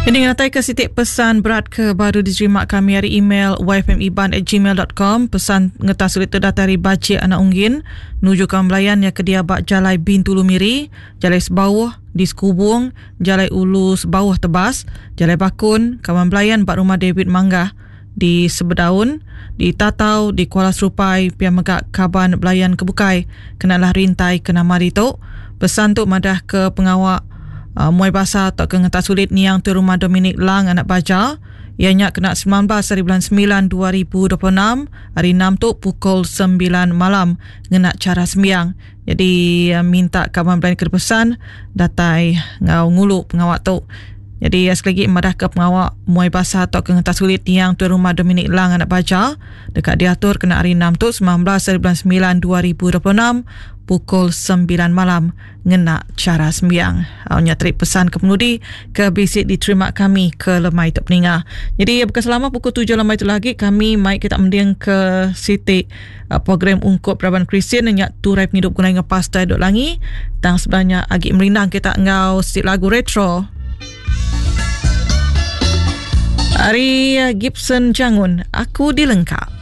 Ini ngenatai ke siti pesan berat ke baru diterima kami ari email yfmiban@gmail.com. Pesan ngetas sulit tu datai ari Bajik Anak Unggin nuju kawan belayan iya ke dia ba Jalai Bintulu Miri, Jalai Sebauh di Sekubung, Jalai Ulu Sebauh Tebas, Jalai Bakun, kawan belayan ba Rumah David Manggah di Sebedaun, di Tatau, di Kuala Serupai, pia mega kaban belayan ke bukai kena lah rintai ke nama ditu. Pesan tu madah ke pengawa muai basa tauka ngentak sulit niang Tuai Rumah Dominic Lang anak Baja iya nya kena 19 hari bulan 9 2026 hari 6 tu pukul 9 malam ngena chara sembiang. Jadi minta kaban belayan ke pesan datai enggau ngulu pengawa tu. Jadi sekali lagi madah ke pengawa muai basa tauka ngentak sulit niang Tuai Rumah Dominic Lang anak Baja deka diatur kena hari 6 tu 19 hari bulan 9 2026 pukul 9 malam ngena chara sembiang. Au nya teri pesan ke penudi ke bisi diterima kami ke lemai tu peninga. Jadi bukan selama pukul 7 lemai tu lagi kami mai kita mending ke siti uh, program ungkup raban Kristian nya Turai Pengidup Gulai dengan Pastor Dok Langi. Tang sebenarnya agi merindang kita enggau siti lagu retro. Ari uh, Gibson Jangun, Aku Dilengka.